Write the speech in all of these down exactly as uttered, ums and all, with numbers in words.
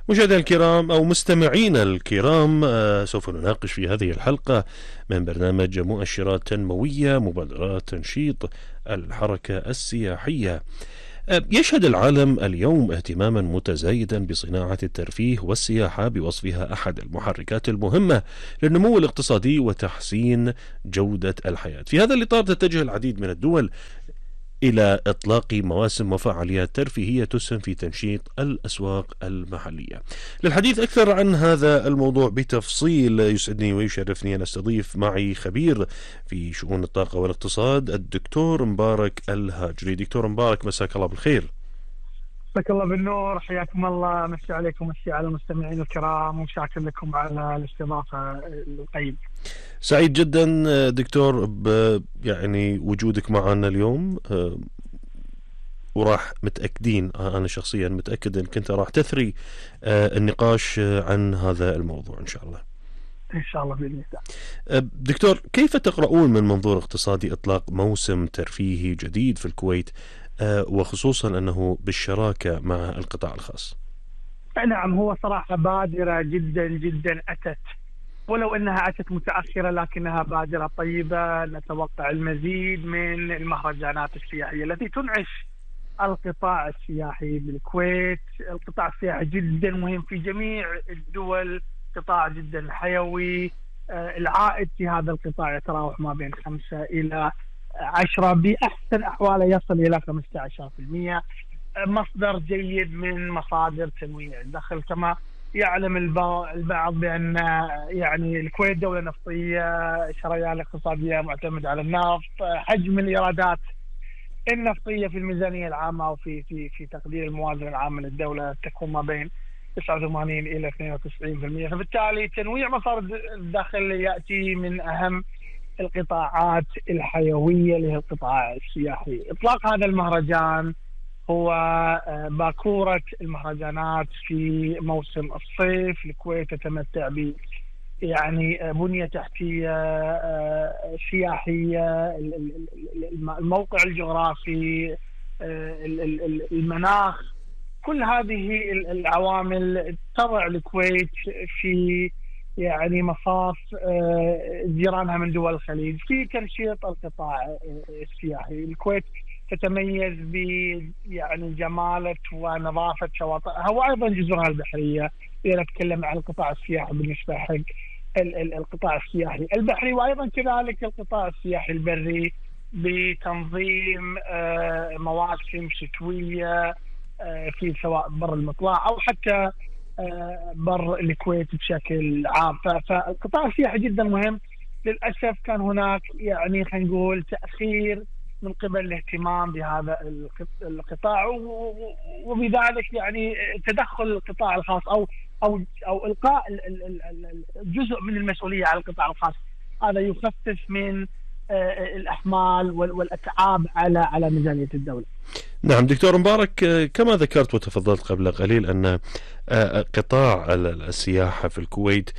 مشاهدينا الكرام أو مستمعينا الكرام، آه، سوف نناقش في هذه الحلقة من برنامج مؤشرات تنموية مبادرات تنشيط الحركة السياحية. آه، يشهد العالم اليوم اهتماما متزايدا بصناعة الترفيه والسياحة بوصفها أحد المحركات المهمة للنمو الاقتصادي وتحسين جودة الحياة. في هذا الإطار تتجه العديد من الدول إلى إطلاق مواسم وفعاليات ترفيهية تسهم في تنشيط الأسواق المحلية. للحديث أكثر عن هذا الموضوع بتفصيل يسعدني ويشرفني أن أستضيف معي خبير في شؤون الطاقة والاقتصاد الدكتور مبارك الهاجري. دكتور مبارك، مساك الله بالخير. مساك الله بالنور، حياكم الله، مسي عليكم، مسي على المستمعين الكرام، وشاكر لكم على الاستضافة الطيبة. سعيد جدا دكتور ب يعني وجودك معنا اليوم، وراح متأكدين أنا شخصيا متأكد أنك أنت راح تثري النقاش عن هذا الموضوع إن شاء الله. إن شاء الله بإذن الله. دكتور، كيف تقرؤون من منظور اقتصادي إطلاق موسم ترفيهي جديد في الكويت، وخصوصا أنه بالشراكة مع القطاع الخاص؟ نعم، هو صراحة بادرة جدا جدا أتت، ولو أنها أتت متأخرة لكنها بادرة طيبة. نتوقع المزيد من المهرجانات السياحية التي تنعش القطاع السياحي بالكويت. القطاع السياحي جدا مهم في جميع الدول، قطاع جدا حيوي. العائد في هذا القطاع يتراوح ما بين خمسة إلى عشرة، بأحسن أحواله يصل إلى خمسة عشر بالمئة. مصدر جيد من مصادر تنويع الدخل. كما يعلم البعض بأن يعني الكويت دولة نفطية، شريان الاقتصادية معتمد على النفط. حجم الإيرادات النفطية في الميزانية العامة وفي في في تقدير الموازنة العامة للدولة تكون ما بين تسعة وثمانين إلى اثنين وتسعين بالمئة. فبالتالي تنويع مصادر الدخل يأتي من أهم القطاعات الحيوية اللي هي القطاع السياحي. إطلاق هذا المهرجان هو باكورة المهرجانات في موسم الصيف. الكويت تتمتع ب يعني بنية تحتية سياحية، الموقع الجغرافي، المناخ، كل هذه العوامل تضع الكويت في يعني مصاف جيرانها من دول الخليج في تنشيط القطاع السياحي. الكويت تتميز ب يعني جمالة ونظافة شواطئها وأيضا جزرها البحرية. إذا نتكلم عن القطاع السياحي بالنسبة حق القطاع السياحي البحري، وأيضا كذلك القطاع السياحي البري بتنظيم مواسم شتوية في سواء بر المطلع أو حتى بر الكويت بشكل عام. فالقطاع السياحي جدا مهم. للأسف كان هناك يعني خلينا نقول تأخير من قبل الاهتمام بهذا القطاع، وبذلك يعني تدخل القطاع الخاص او او او القاء جزء من المسؤوليه على القطاع الخاص. هذا يخفف من الاحمال والاتعاب على على ميزانيه الدوله. نعم دكتور مبارك، كما ذكرت وتفضلت قبل قليل أن قطاع السياحة في الكويت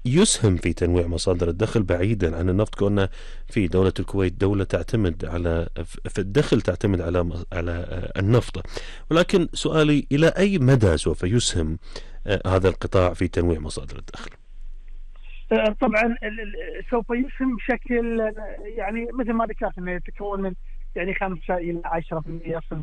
يسهم في تنويع مصادر الدخل بعيدا عن النفط، كوننا في دولة الكويت دولة تعتمد على في الدخل تعتمد على على النفط. ولكن سؤالي، إلى أي مدى سوف يسهم هذا القطاع في تنويع مصادر الدخل؟ طبعا سوف يسهم بشكل يعني مثل ما ذكرت انه يتكون من يعني خمسة إلى عشرة بالمئة، يصل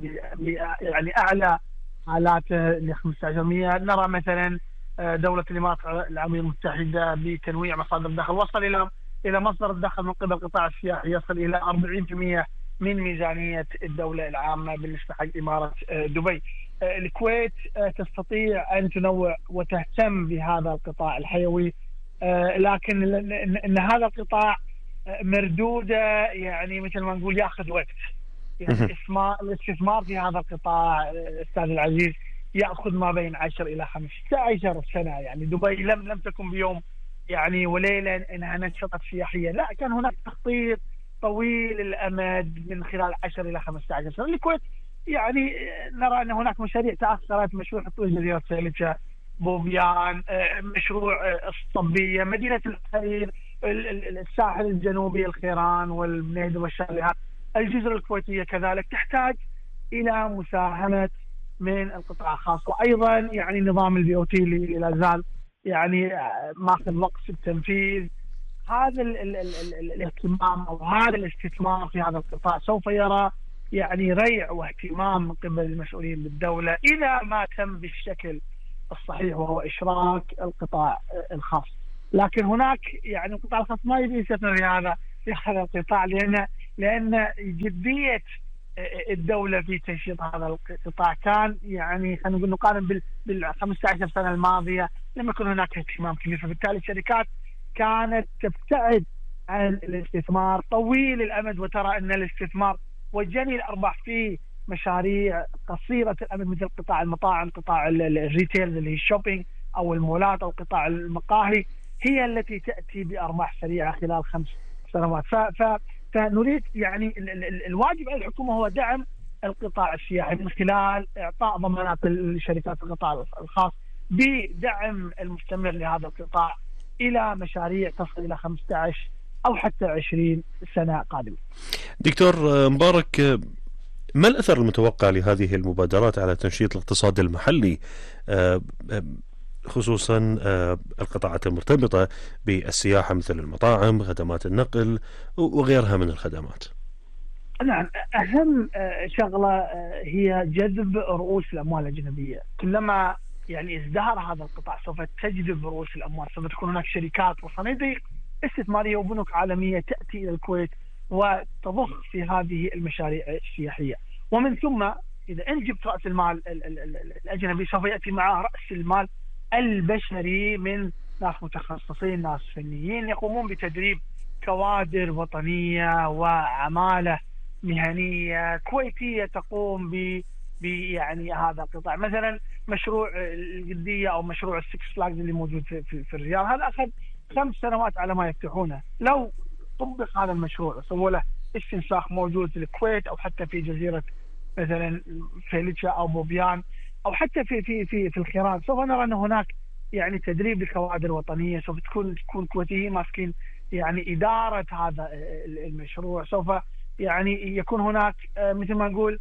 يعني أعلى حالاته ل خمسة عشر بالمئة. نرى مثلا دولة الإمارات العربية المتحدة بتنويع مصادر الدخل وصل إلى إلى مصدر الدخل من قبل القطاع السياحي يصل إلى أربعين بالمئة من ميزانية الدولة العامة بالنسبة حق إمارة دبي. الكويت تستطيع أن تنوع وتهتم بهذا القطاع الحيوي، لكن إن هذا القطاع مردودة يعني مثل ما نقول يأخذ وقت. يعني الاستثمار في هذا القطاع أستاذ العزيز يأخذ ما بين عشر إلى خمسة عشر سنة. يعني دبي لم لم تكن بيوم يعني وليلة إنها نشطت سياحيا، لا، كان هناك تخطيط طويل الأمد من خلال عشر إلى خمسة عشر سنة. الكويت يعني نرى أن هناك مشاريع تأخرت، مشروع تطوير جزيرة سيلجة، بوبيان، مشروع الصبية، مدينة الحرير، الساحل الجنوبي، الخيران والبنيد والشاليهات. الجزر الكويتية كذلك تحتاج إلى مساهمة من القطاع الخاص. وايضا يعني نظام البي او تي اللي لا زال يعني ماخذ وقت في التنفيذ. هذا ال ال ال ال الاهتمام او هذا الاستثمار في هذا القطاع سوف يرى يعني ريع واهتمام من قبل المسؤولين بالدوله اذا ما تم بالشكل الصحيح، وهو اشراك القطاع الخاص. لكن هناك يعني القطاع الخاص ما يبي يستثمر في هذا في هذا القطاع، لان لان جديه الدوله في تنشيط هذا القطاع كان يعني خلينا نقول نقارن بال خمسة عشر سنه الماضيه لم يكن هناك اهتمام كبير، فبالتالي الشركات كانت تبتعد عن الاستثمار طويل الامد، وترى ان الاستثمار وجني الارباح في مشاريع قصيره الامد مثل قطاع المطاعم، قطاع الريتيل اللي هي الشوبينج او المولات، او قطاع المقاهي، هي التي تاتي بارباح سريعه خلال خمس سنوات. ف فنريد يعني الواجب على الحكومه هو دعم القطاع السياحي من خلال اعطاء ضمانات لشركات القطاع الخاص بدعم المستمر لهذا القطاع الى مشاريع تصل الى خمسة عشر او حتى عشرين سنه قادمه. دكتور مبارك، ما الاثر المتوقع لهذه المبادرات على تنشيط الاقتصاد المحلي، خصوصا القطاعات المرتبطه بالسياحه مثل المطاعم، خدمات النقل وغيرها من الخدمات؟ نعم، اهم شغله هي جذب رؤوس الاموال الاجنبيه. كلما يعني ازدهر هذا القطاع سوف تجذب رؤوس الاموال، سوف تكون هناك شركات وصناديق استثماريه وبنوك عالميه تاتي الى الكويت وتضخ في هذه المشاريع السياحيه. ومن ثم اذا انجبت راس المال الاجنبي سوف ياتي معه راس المال البشري من ناس متخصصين، ناس فنيين يقومون بتدريب كوادر وطنيه وعماله مهنيه كويتيه تقوم ب يعني هذا القطاع. مثلا مشروع القديه او مشروع السكس فلاجز اللي موجود في, في, في الرياض، هذا اخذ خمس سنوات على ما يفتحونه. لو طبق هذا المشروع وسووا له استنساخ موجود في الكويت او حتى في جزيره مثلا فيليتشا او بوبيان او حتى في في في في الخيران، سوف نرى ان هناك يعني تدريب لكوادر وطنيه، سوف تكون تكون كويتيين ماسكين يعني اداره هذا المشروع، سوف يعني يكون هناك مثل ما نقول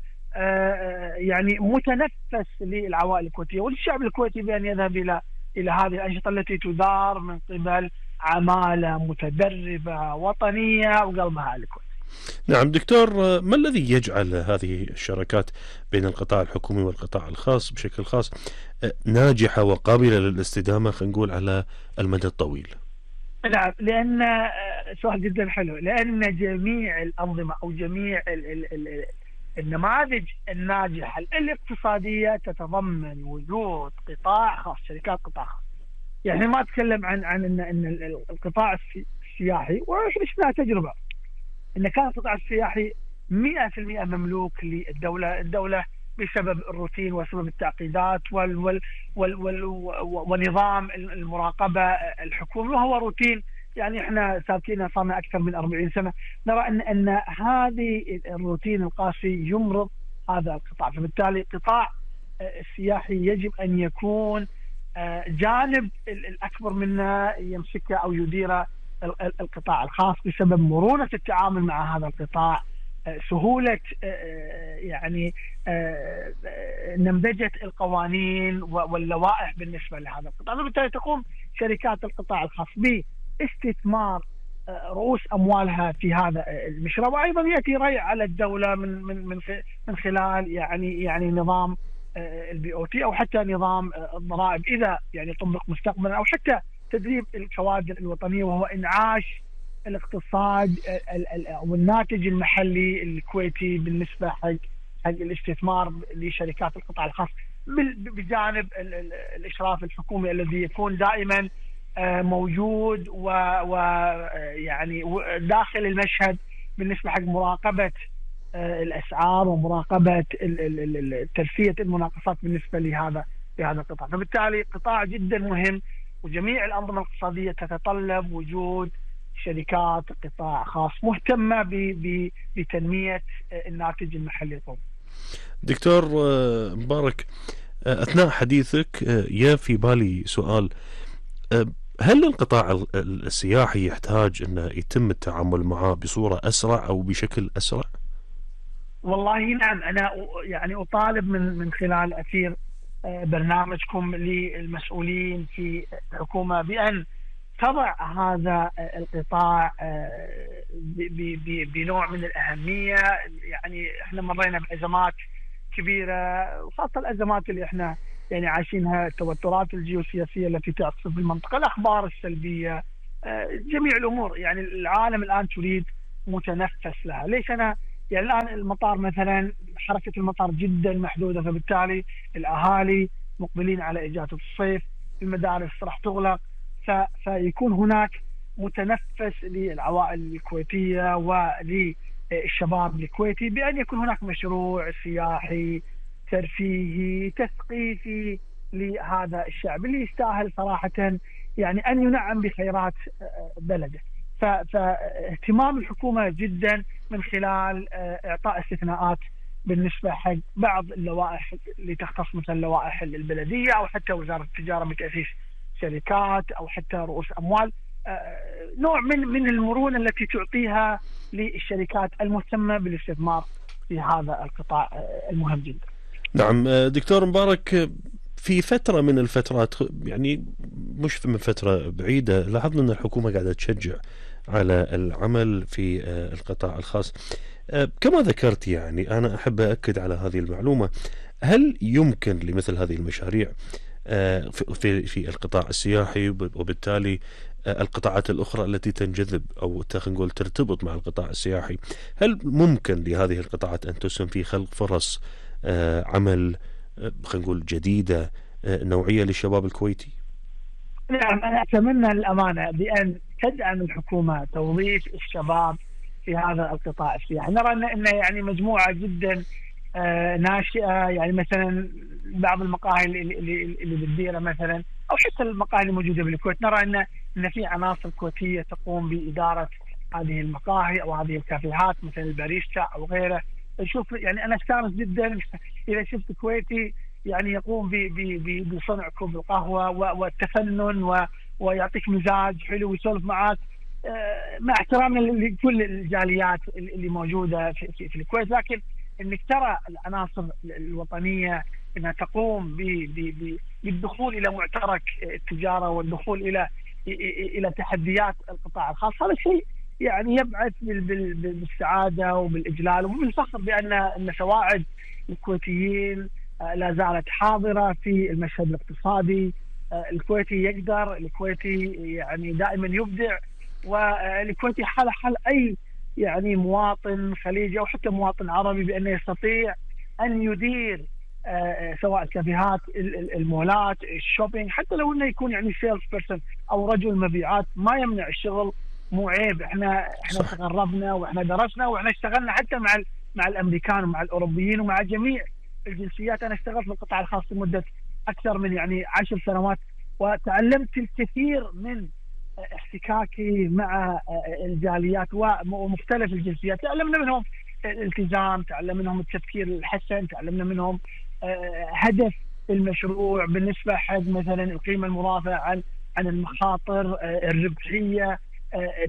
يعني متنفس للعوائل الكويتيه وللشعب الكويتي بان يذهب الى الى هذه الانشطه التي تدار من قبل عماله متدربه وطنيه وقلبها الكويت. نعم دكتور، ما الذي يجعل هذه الشراكات بين القطاع الحكومي والقطاع الخاص بشكل خاص ناجحه وقابله للاستدامه خلينا نقول على المدى الطويل؟ نعم، لان سؤال جدا حلو، لان جميع الانظمه او جميع ال ال ال النماذج الناجحه الاقتصاديه تتضمن وجود قطاع خاص، شركات قطاع خاص. يعني ما اتكلم عن عن ان ان القطاع السياحي، وعشنا تجربه ان كان القطاع السياحي مئة بالمئة مملوك للدوله، الدوله بسبب الروتين وسبب التعقيدات وال وال وال وال ونظام المراقبه الحكومي، وهو روتين يعني احنا سابقين صارنا اكثر من أربعين سنه، نرى ان ان هذه الروتين القاسي يمرض هذا القطاع. فبالتالي القطاع السياحي يجب ان يكون جانب الاكبر منه يمسكه او يديره القطاع الخاص بسبب مرونه التعامل مع هذا القطاع، سهوله يعني نمذجه القوانين واللوائح بالنسبه لهذا القطاع. فبالتالي تقوم شركات القطاع الخاص باستثمار رؤوس اموالها في هذا المشروع، وايضا ياتي ريع على الدوله من من من من خلال يعني يعني نظام البي او تي او حتى نظام الضرائب اذا يعني طبق مستقبلا، او حتى تدريب الكوادر الوطنيه وهو انعاش الاقتصاد والناتج المحلي الكويتي بالنسبه حق حق الاستثمار لشركات القطاع الخاص، بجانب الاشراف الحكومي الذي يكون دائما موجود ويعني داخل المشهد بالنسبه حق مراقبه الاسعار ومراقبه تلفيه المناقصات بالنسبه لهذا لهذا القطاع. فبالتالي قطاع جدا مهم، وجميع الانظمه الاقتصاديه تتطلب وجود شركات قطاع خاص مهتمه بتنميه الناتج المحلي القومي. دكتور مبارك، اثناء حديثك يا في بالي سؤال، هل القطاع السياحي يحتاج انه يتم التعامل معه بصوره اسرع او بشكل اسرع؟ والله نعم، أنا يعني أطالب من من خلال أثير برنامجكم للمسؤولين في الحكومة بأن تضع هذا القطاع بنوع من الأهمية. يعني احنا مرينا بأزمات كبيرة، وخاصة الأزمات اللي احنا يعني عايشينها، التوترات الجيوسياسية التي تحصل في المنطقة، الأخبار السلبية، جميع الأمور. يعني العالم الآن تريد متنفس لها. ليش أنا يعني الآن المطار مثلا، حركة المطار جدا محدودة، فبالتالي الأهالي مقبلين على إجازة الصيف، المدارس راح تغلق، فيكون هناك متنفس للعوائل الكويتية وللشباب الكويتي بأن يكون هناك مشروع سياحي ترفيهي تثقيفي لهذا الشعب اللي يستاهل صراحة يعني أن ينعم بخيرات بلده. فاهتمام الحكومة جدا من خلال إعطاء استثناءات بالنسبة حق بعض اللوائح اللي تختص مثل لوائح البلدية أو حتى وزارة التجارة بتأسيس شركات أو حتى رؤوس أموال، نوع من من المرونة التي تعطيها للشركات المهتمة بالاستثمار في هذا القطاع المهم جدا. نعم دكتور مبارك، في فترة من الفترات يعني مش من فترة بعيدة لاحظنا أن الحكومة قاعدة تشجع على العمل في القطاع الخاص. كما ذكرت يعني أنا أحب أكد على هذه المعلومة، هل يمكن لمثل هذه المشاريع في في القطاع السياحي وبالتالي القطاعات الأخرى التي تنجذب أو خلينا نقول ترتبط مع القطاع السياحي، هل ممكن لهذه القطاعات أن تسهم في خلق فرص عمل خلينا نقول جديدة نوعية للشباب الكويتي؟ نعم، أنا أتمنى الأمانة بأن تدعم الحكومة توظيف الشباب في هذا القطاع السياحي. نرى أن إن يعني مجموعة جدا ناشئة، يعني مثلا بعض المقاهي اللي اللي اللي بالديرة مثلا أو حتى المقاهي الموجودة بالكويت، نرى أن إن في عناصر كويتية تقوم بإدارة هذه المقاهي أو هذه الكافيهات مثل الباريستا أو غيره. نشوف يعني أنا استانس جدا إذا شفت كويتي يعني يقوم بصنع كوب القهوة والتفنن ويعطيك مزاج حلو ويسولف معك، مع احترامنا لكل الجاليات اللي موجودة في, في الكويت. لكن انك ترى العناصر الوطنية انها تقوم بالدخول الى معترك التجارة والدخول الى الى تحديات القطاع الخاص، هذا الشيء يعني يبعث بالسعادة وبالإجلال وبالفخر بأن أن سواعد الكويتيين لا زالت حاضرة في المشهد الاقتصادي. الكويتي يقدر، الكويتي يعني دائما يبدع، والكويتي حال حال أي يعني مواطن خليجي أو حتى مواطن عربي بأنه يستطيع أن يدير سواء الكافيهات، المولات، الشوبينج، حتى لو انه يكون يعني سيلز بيرسون او رجل مبيعات، ما يمنع الشغل، مو عيب. احنا احنا تغربنا واحنا درسنا واحنا اشتغلنا حتى مع مع الامريكان ومع الاوروبيين ومع جميع الجنسيات. انا اشتغلت في القطاع الخاص لمده اكثر من يعني عشر سنوات، وتعلمت الكثير من احتكاكي مع الجاليات ومختلف الجنسيات. تعلمنا منهم الالتزام، تعلمنا منهم التفكير الحسن، تعلمنا منهم هدف المشروع بالنسبه حق مثلا القيمه المضافه عن عن المخاطر، الربحيه،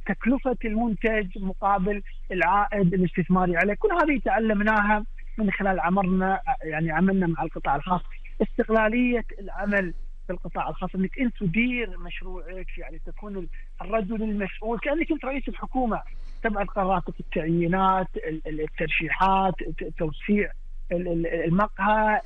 تكلفه المنتج مقابل العائد الاستثماري عليه. كل هذه تعلمناها من خلال عمرنا يعني عملنا مع القطاع الخاص. استقلاليه العمل في القطاع الخاص، انك انت تدير مشروعك، يعني تكون الرجل المسؤول كانك انت رئيس الحكومه، تبعد قراراتك، التعيينات، الترشيحات، توسيع المقهى،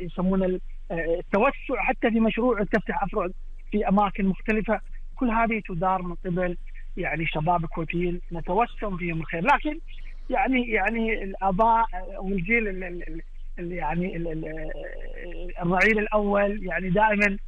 يسمونه التوسع حتى في مشروع تفتح افرع في اماكن مختلفه. كل هذه تدار من قبل يعني شباب كويتيين نتوسم فيهم الخير. لكن يعني يعني الاباء والجيل اللي يعني الرعيل الاول يعني دائما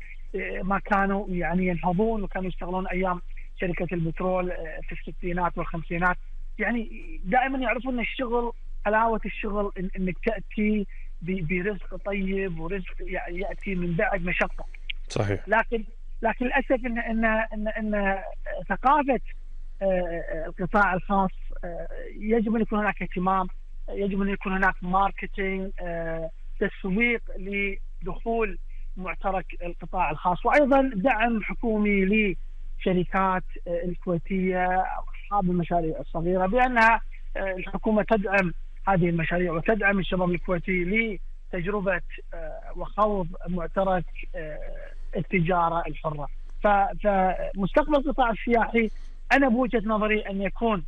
ما كانوا يعني ينهضون وكانوا يشتغلون ايام شركه البترول في الستينات والخمسينات، يعني دائما يعرفون ان الشغل، حلاوه الشغل انك تاتي برزق طيب ورزق ياتي من بعد مشقه. صحيح. لكن لكن للاسف ان ان ان, إن ثقافه القطاع الخاص يجب ان يكون هناك اهتمام، يجب ان يكون هناك ماركتينج، تسويق لدخول معترك القطاع الخاص، وايضا دعم حكومي لشركات الكويتيه او اصحاب المشاريع الصغيره، بانها الحكومه تدعم هذه المشاريع وتدعم الشباب الكويتي لتجربة وخوض معترك التجارة الحرة. فمستقبل القطاع السياحي أنا بوجهة نظري أن يكون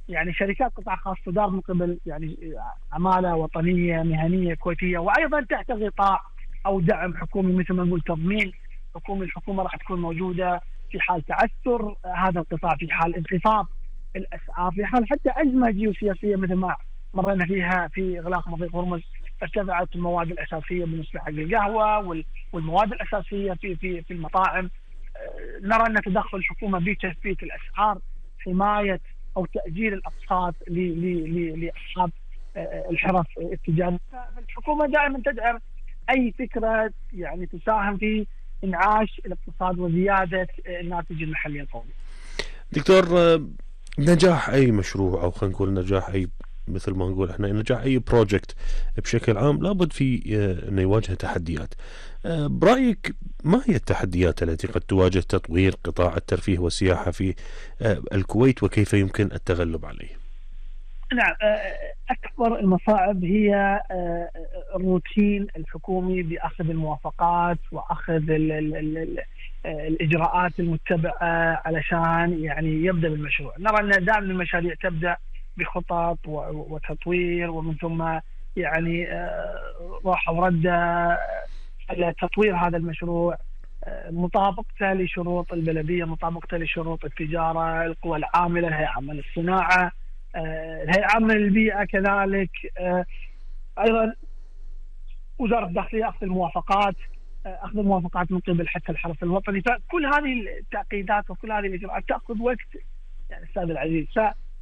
يعني شركات قطاع خاص تدار من قبل يعني عمالة وطنية مهنية كويتية، وأيضا تحت غطاء أو دعم حكومي مثل ما نقول تضمين حكومي. الحكومة راح تكون موجودة في حال تعثر هذا القطاع، في حال انخفاض الأسعار، في حال حتى أزمة جيوسياسية مثل ما مرينا فيها في إغلاق مضيق هرمز، ارتفعت المواد الأساسية بالنسبة حق القهوة والمواد الأساسية في في في المطاعم. نرى أن تدخل الحكومة بتثبيت الأسعار، حماية أو تأجيل الأقساط لأصحاب الحرف التجارية. فالحكومة دائما تدعم أي فكرة يعني تساهم في إنعاش الاقتصاد وزيادة الناتج المحلي القومي. دكتور، نجاح أي مشروع أو خلينا نقول نجاح أي مثل ما نقول احنا نجاح اي بروجكت بشكل عام لابد في انه يواجه تحديات. برايك ما هي التحديات التي قد تواجه تطوير قطاع الترفيه والسياحه في الكويت وكيف يمكن التغلب عليه؟ نعم، اكبر المصاعب هي الروتين الحكومي باخذ الموافقات واخذ ال ال ال الاجراءات المتبعه علشان يعني يبدا بالمشروع. نرى ان دائما المشاريع تبدا بخطط وتطوير ومن ثم يعني راحة وردة على تطوير هذا المشروع، مطابقته لشروط البلدية، مطابقته لشروط التجارة، القوى العاملة، الهيئة العامة للصناعة، الهيئة العامة للبيئة كذلك، أيضا وزارة الداخلية أخذ الموافقات أخذ الموافقات من قبل حتى الحرس الوطني. فكل هذه التعقيدات وكل هذه الإجراءات تأخذ وقت يعني أستاذ العزيز.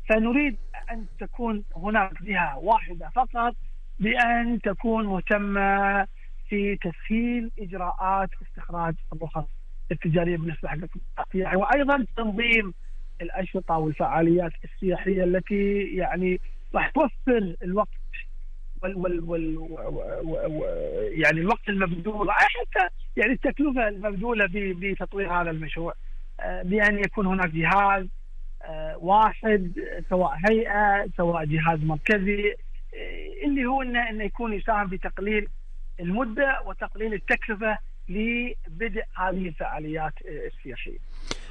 فنريد أن تكون هناك جهة واحدة فقط بأن تكون مهتمة في تسهيل إجراءات استخراج الرخص التجارية بالنسبة حق السياحة، وأيضا تنظيم الأنشطة والفعاليات السياحية التي يعني راح توفر الوقت وال وال وال يعني الوقت المبذول حتى يعني التكلفة المبذولة بتطوير هذا المشروع، بأن يكون هناك جهاز واحد سواء هيئة سواء جهاز مركزي اللي هو إنه, إنه يكون يساهم في تقليل المدة وتقليل التكلفة لبدء هذه الفعاليات السياحية.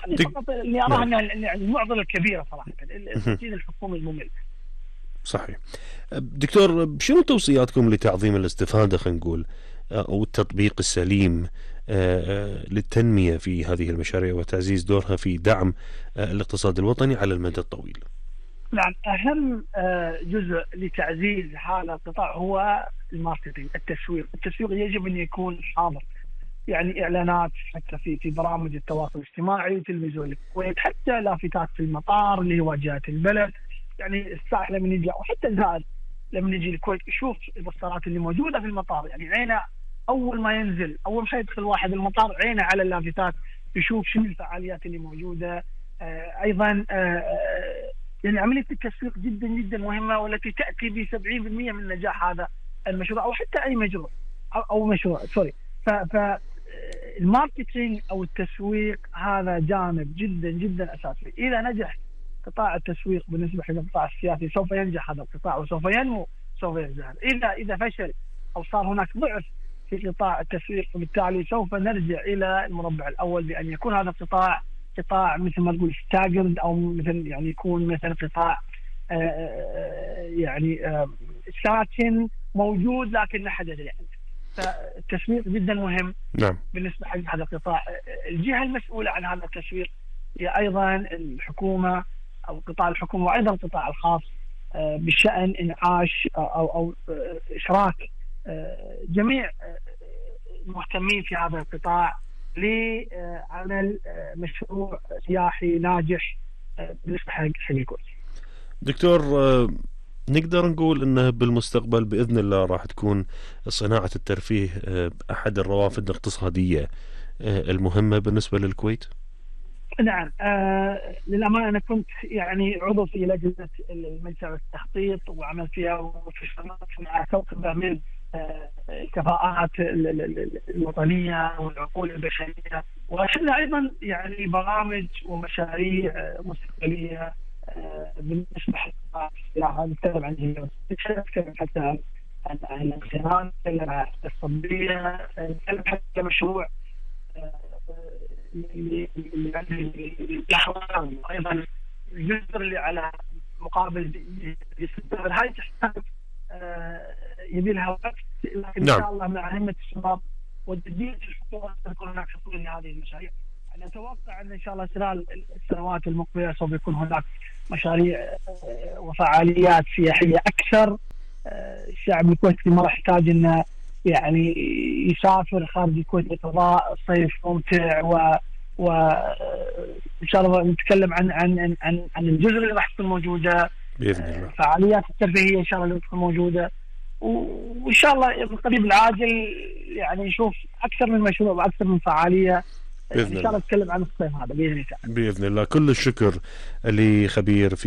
هذه فقط اللي أراه يعني المعضلة الكبيرة صراحة، الروتين الحكومي الممل. صحيح. دكتور، شنو توصياتكم لتعظيم الاستفادة خلينا نقول أو التطبيق السليم للتنمية في هذه المشاريع وتعزيز دورها في دعم الاقتصاد الوطني على المدى الطويل؟ نعم، أهم جزء لتعزيز هذا القطاع هو الماركتينج، التسويق. التسويق يجب أن يكون حاضر، يعني إعلانات حتى في في برامج التواصل الاجتماعي، تلفزيون الكويت، حتى لافتات في المطار اللي هي واجهات البلد. يعني السائح لما يجي أو حتى الزائر لما يجي الكويت يشوف البوسترات اللي موجودة في المطار، يعني عينه أول ما ينزل أول ما يدخل واحد المطار عينه على اللافتات يشوف شنو الفعاليات اللي موجودة. آه أيضا آه يعني عملية التسويق جدا جدا مهمة، والتي تأتي ب سبعين بالمئة من نجاح هذا المشروع أو حتى أي مشروع أو, أو مشروع سوري. فالماركتينج أو التسويق هذا جانب جدا جدا أساسي. إذا نجح قطاع التسويق بالنسبة للقطاع السياسي سوف ينجح هذا القطاع وسوف ينمو سوف يزدهر. إذا إذا فشل أو صار هناك ضعف في قطاع التسويق وبالتالي سوف نرجع إلى المربع الأول بأن يكون هذا القطاع قطاع مثل ما تقول ستاجرد أو مثل يعني يكون مثل قطاع يعني ساكن موجود لكن لا حدث يعني. فالتسويق جدا مهم. نعم. بالنسبة حق هذا القطاع، الجهة المسؤولة عن هذا التسويق هي أيضا الحكومة أو قطاع الحكومة وأيضا القطاع الخاص بشأن إنعاش أو أو إشراك جميع المهتمين في هذا القطاع لعمل مشروع سياحي ناجح بالنسبة حق الكويت. دكتور، نقدر نقول أنه بالمستقبل بإذن الله راح تكون صناعة الترفيه أحد الروافد الاقتصادية المهمة بالنسبة للكويت؟ نعم، آه للأمانة أنا كنت يعني عضو في لجنة المنشأ والتخطيط وعملت فيها واشتغلت مع كوكبة من آه الكفاءات الوطنية والعقول البشرية، وشلنا أيضا يعني برامج ومشاريع مستقبلية بالنسبه للسياحه نتكلم عن جنوب، نتكلم حتى عن عن الخيرات، نتكلم عن الطبيه، نتكلم حتى مشروع اللي اللي عنده الاحوال، ايضا الجزر اللي على مقابل الجزر هاي تحتاج يبي لها وقت، لكن نعم. ان شاء الله مع همه الشباب وتجديد الحكومه تكون هناك حلول لهذه المشاريع. انا اتوقع ان ان شاء الله خلال السنوات المقبله سوف يكون هناك مشاريع وفعاليات سياحيه اكثر. الشعب الكويتي ما راح يحتاج انه يعني يسافر خارج الكويت لقضاء صيف ممتع، و وان شاء الله نتكلم عن عن عن عن الجزر اللي راح تكون موجوده باذن الله، فعاليات الترفيهيه ان شاء الله اللي تكون موجوده، وان شاء الله بالقريب العاجل يعني نشوف اكثر من مشروع واكثر من فعاليه بإذن ان شاء الله نتكلم عن الصيف هذا باذن الله. باذن الله. كل الشكر لخبير في